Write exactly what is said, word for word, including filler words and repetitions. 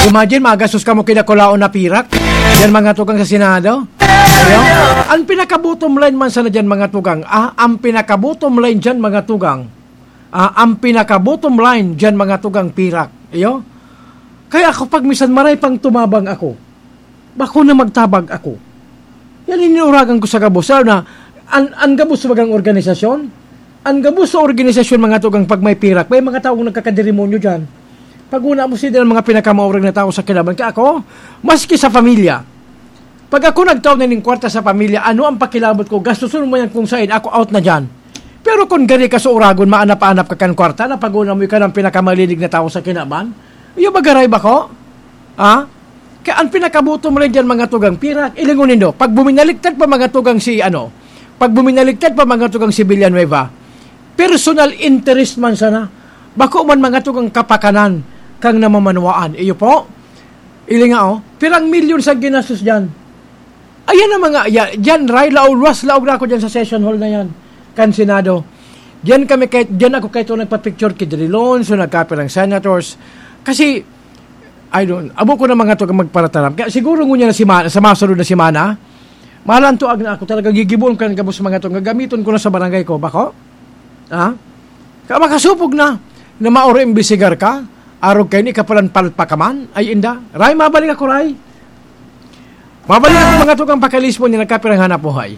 Imagine, magastos kamo kinakulaon na pirak. Yan, mga tugang sa Senado. Ayo? Ang pinaka-bottom line man sana dyan, mga tugang. Ah, ang pinaka-bottom line dyan, mga tugang. Ah, ang pinaka-bottom line dyan, mga tugang, pirak. Iyo? Kaya ako, pag misan maray pang tumabang ako, bako na magtabag ako. Yan, inuragan ko sa gabos. Lalo na, an, an gabos sa bagang organisasyon, an gabos sa organisasyon, mga tugang, pag may pirak, may mga taong nagkakadirimonyo dyan. Pag una mo sila ang mga pinakamaurag na tao sa kinaban. Kaya ako, maski sa pamilya, pag ako nagtao na ning kwarta sa pamilya, ano ang pakilabot ko? Gastusun mo yan kung saan, ako out na dyan. Pero kung gari ka sa uragon, maanap-anap ka kan kwarta, na pag una mo ikaw ang pinakamalinig na tao sa kinaban, iyo ba garay ba ko? Ha? Kaya ang pinakabuto mo lang dyan, mga tugang pirak, ilingon nindo. Pag buminaligtad pa, mga tugang, si, ano, pag buminaligtad pa, mga tugang, si Villanueva, personal interest man sana, bako man, mga tugang, kapakanan kang namamanwaan. Iyo po, ilinga, oh, pirang milyon sa ginastos dyan. Ayan ang mga, ya, dyan, Ray, laog, luwas, laog na ako dyan sa session hall na yan, kan Senado. Diyan kami kay, diyan ako kay ito nagpa-picture kay Drilon, so nagkapirang senators. Kasi, I don't, abo ko na mga to magparataram. Kaya siguro ngunyan na semana, sa masunod na semana, malantoag na ako talaga, gigibuon ko ang gabos mga to, gagamiton ko na sa barangay ko. Bako? Ha? Kaya makasupog na, na mauro imbestigar ka, arog kayo ni kapalan palpa ka man, ay inda. Ray, mabalik ako, Ray. Mabalik ako mga tugang pakalismo ni nagkapirang hanap buhay.